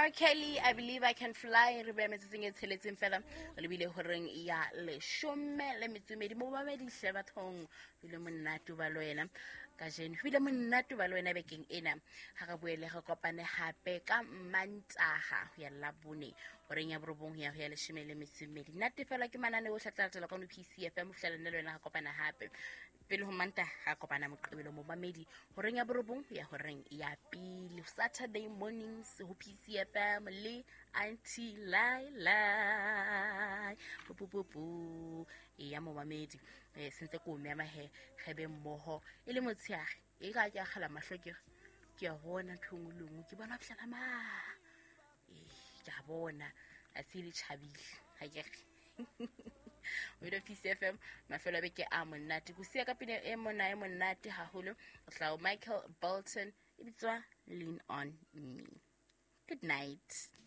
R Kelly, I Believe I Can Fly. Re beya metsotsong e tsheletseng fela re lebile horeng ya 12. Momamedi hle bathong, ho bile monate ho ba le wena kajeno, ho bile monate ho ba le wena bekeng ena. Ha re boele re kopane hape ka Mantaha ho ya Labone horeng ya 9 ho ya ho ya 12. Nate fela ke manane o tla latela kwano PCFM ho fihlela nna le wena re kopana hape. Pele ho Mantaha ga kopana Moqebelo, momamedi, horeng ya 9 ho ya horeng ya 1, Saturday mornings ho PCFM le Auntie Laila. Pupupupu e ya momamedi, sentse ko o mema he ge be mmoho e le motshehare. E ka ke akgela mahlo, ke re ke a bona ntho e nngwe le nngwe, ke bona fitlhela ma ee, ke a bona a se le tjhabile ha ke re o PCFM. Mafelo a beke a monate ko sia ka pina e mona e monate haholo o tla Michael Bolton, e bitswa Lean on Me. Good night.